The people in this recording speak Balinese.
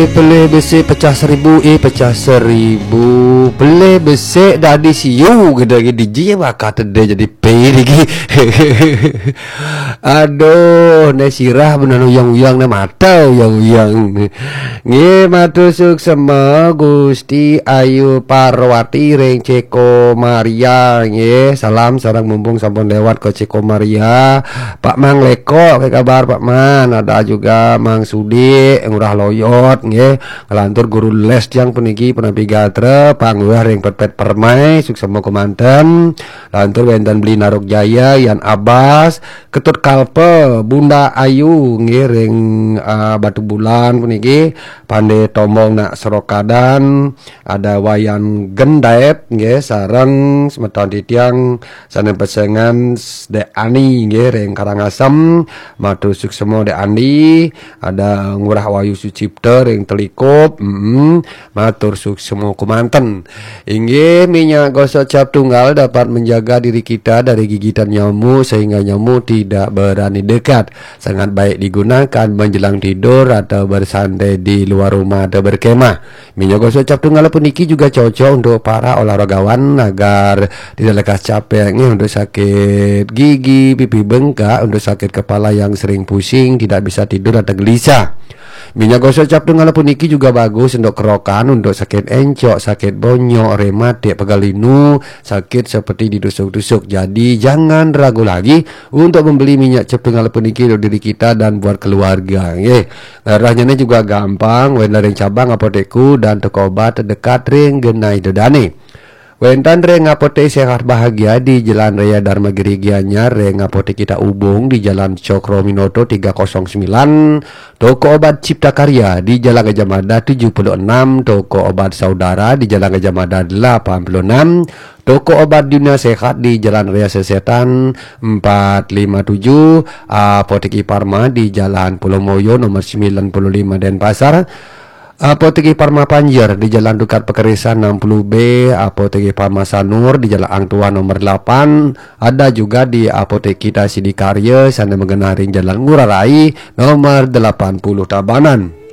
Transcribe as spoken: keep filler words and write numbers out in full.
Pelih besik pecah seribu, eh, pecah seribu. Pelih besik dadi siu, gede lagi diji bakal tede jadi pe lagi. Aduh, ne sirah benar uyang-uyang, ne mata uyang-uyang. Nggih, matur suksema Gusti Ayu Parwati ring Ceko Maria, nggih. Salam sareng mumpung sampun lewat ke Ceko Maria. Pak Mang Leko, apa kabar Pak Man? Ada juga Mang Sudik, Ngurah Loyot, nggih. Lantur guru les tiang puniki, penampi gatra, Pak Ngurah ring Petpet Permai, suksema kemanten. Lantur wenten Beli Naruk Jaya, Yan Abbas, Ketut Kalpa, Bunda Ayu, nggih, ring, ah, Batu Bulan puniki, Pande Tombong nak Serokadan, ada Wayan Gendaet, nggih, sareng semeton titiang sane pesengan Dek Ani, nggih, ring Karangasem, matur suksema Dek Ani, ada Ngurah Wayu Sucipta ring Telikup, mm, matur suksema kemanten. Inggih, minyak gosok cap tunggal dapat menjaga diri kita dari gigitan nyamuk sehingga nyamuk tidak berani dekat. Sangat baik digunakan menjelang tidur atau bersantai di luar rumah atau berkemah. Minyak gosok cap tunggal puniki juga cocok untuk para olahragawan agar tidak lekas capek, nggih, untuk sakit gigi, pipi bengkak, untuk sakit kepala yang sering pusing, tidak bisa tidur atau gelisah. Minyak gosok cap tunggal puniki juga bagus untuk kerokan, untuk sakit encok, sakit bonyok, rematik, pegal linu, sakit seperti ditusuk-tusuk. Jadi, jangan ragu lagi untuk membeli minyak cap tunggal puniki untuk diri kita dan buat keluarga, nggih. Ngarahnyane juga gampang, wenten ring cabang apotekku dan toko obat terdekat ring genah ida dane. Wenten ring Apotek Sehat Bahagia di Jalan Raya Dharma Giri Gianyar, ring Apotek Kita Ubung di Jalan Cokroaminoto tiga kosong sembilan, toko obat Cipta Karya di Jalan Gajah Mada tujuh puluh enam, toko obat Saudara di Jalan Gajah Mada delapan puluh enam, toko obat Dunia Sehat di Jalan Raya Sesetan empat lima tujuh, Apotek Iparma di Jalan Pulau Moyo nomor sembilan puluh lima Denpasar, Apotek Iparma Panjer di Jalan Dukat Pekerisan enam puluh B, Apotek Iparma Sanur di Jalan Ang Tuah nomor delapan, ada juga di Apotek Kita Sidikarya sane magenah ring Jalan Ngurah Rai nomor delapan puluh Tabanan.